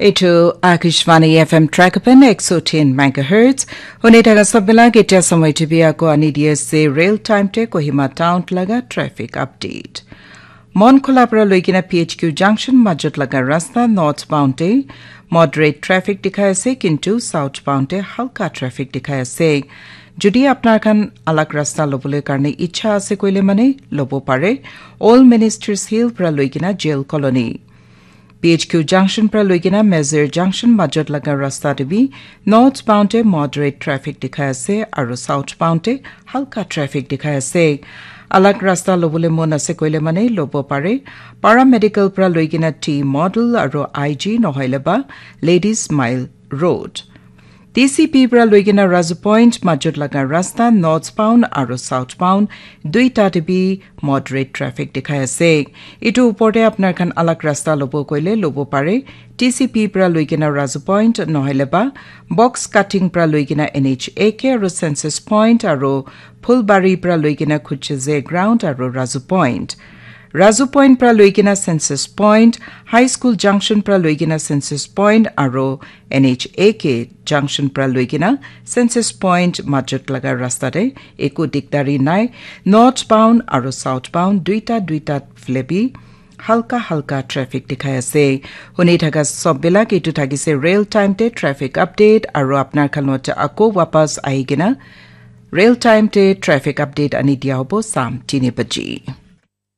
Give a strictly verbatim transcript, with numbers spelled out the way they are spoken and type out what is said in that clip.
Etu Akashvani F M Trakapan ek so tin megahertz. Hune thaka sabila ketia samai tibi ako ani D S C real time te Kohima town laga traffic update. Mon Khula pra loikena P H Q junction majot laga rasta northbound te moderate traffic dikhai ase, kintu southbound te halka traffic dikhai ase. Jodi apnar khan alag rasta lobole karne ichha ase koile mane lobo pare. All Ministers Hill pra loikena Jail Colony. P H Q junction pra loikena Mezir junction majot laga rasta te bi northbound te moderate traffic dikhai ase aru southbound te halka traffic dikhai ase. Alag rasta lobole mon ase koile mane lobo pare. Paramedical pra loikena T Model aru I G nohoile ba Ladies Mile Road. T C P pra loikena Razu Point majot laga rasta northbound aru southbound duita te bi moderate traffic dikhai ase. Etu upor te apnar khan alag rasta lobo koile lobo pare. T C P pra loikena Razu Point nohoile ba box cutting pra loikena N H A K aru Census Point aru Phulbari pra loikena Khucheze Ground aru Razu Point. Razu Point pra loikena Census Point, High School Junction pra loikena Census Point aru N H A K Junction pra loikena Census Point majot laga rasta te eku dikdari nai. Northbound aru southbound duita duita fle bi halka halka traffic dikhai ase. Huni thaka sob bilak etu thakise real time te traffic update aru apnar khan logote ako wapas ahikena real time te traffic update ani dia hobo sam tini baji.